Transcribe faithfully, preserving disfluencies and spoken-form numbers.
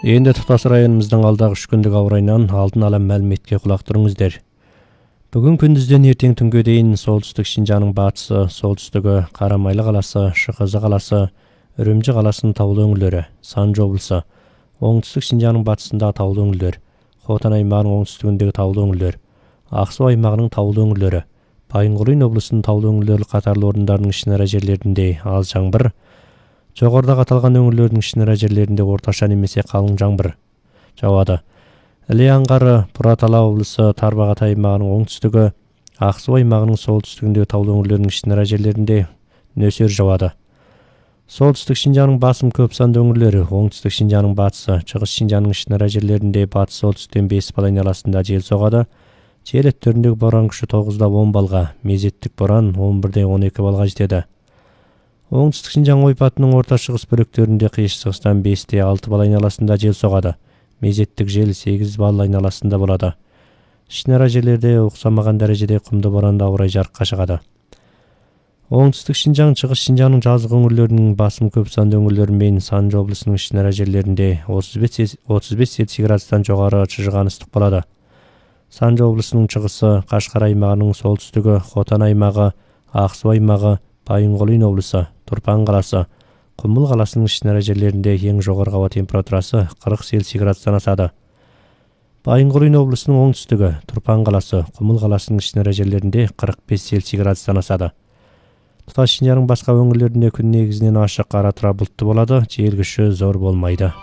Эndi Тутас районумуздун алдагы үч күндүк аба ырайынан алдын ала маалиметке кулак туруңуздар. Бүгүн күндүздөн эртең түнгө дейин солтүстүк Шинжаанын батысы, солтүстүгү Карамайлы каласы, Шыкызы каласы, Үрүмчү каласынын таулуу өңүрлөрү, Санжы облусу, оңтүстүк Шинжаанын батысындагы таулуу өңүрлөр, Хотан аймагынын оңтүстүгүндөгү таулуу өңүрлөр, Ак Суу аймагынын таулуу өңүрлөрү, Байынгулуйн облусунун таулуу өңүрлөрү катарлуу орундардын ишнара жерлеринде аз жаңбыр, жогоруда аталган өңүрлөрдүн ишнара жерлеринде орточо немесе калың жаңбыр жаады. Иле аңгары Бурат Ала облусу, Тарбагат аймагынын оңтүстүгү, Ак Суу аймагынын солтүстүгүндөгү таулуу өңүрлөрдүн ишнара жерлеринде нөсөр жаады. Солтүстүк Шинжаанын басым көп сандуу өңүрлөрү, оңтүстүк Шинжаанын батысы, Чыгыс Шинжаанын ишнара жерлеринде батыс солтүстүктөн беш балл айналасында жел согады. Жел өттөрүндөгү боран күчү тогуздан он баллга, мезеттик боран он бирден он эки баллга жетеді. Оңтүстүк Шинжаан ойпатынын орто чыгыс бөлүктөрүндө кыйшчыгыстан бештен алты балл айналасында жел согады. Мезеттик жел сегиз балл айналасында болот. Ишнара жерлерде уксамаган дарежеде кумдуу боранда аба ырай жарыкка чыгады. Оңтүстүк Шинжаан, Чыгыс Шинжаанын жазык өңүрлөрүнүн басым көп сандуу өңүрлөрү менен Санжы облусунун ишнара жерлеринде отуз беш Цельсий градустан жогору чыжыган ыстык болот. Санжы облусунун чыгысы, Кашкар аймагынын солтүстүгү, Хотан аймагы, Ак Суу аймагы, Байынгулуйн облусу, Турпан каласы, Кумул каласынын ишнара жерлеринде эң жогорку аба температурасы кырк Цельсий градустан асады. Байынгулуйн облусунун оңтүстүгү, Турпан каласы, Кумул каласынын ишнара жерлеринде кырк беш Цельсий градустан асады. Туташ Шинжаанын башка өңүрлөрүндө күн негизинен ашык ара тура булуттуу болот, жел күчү зор болмойду.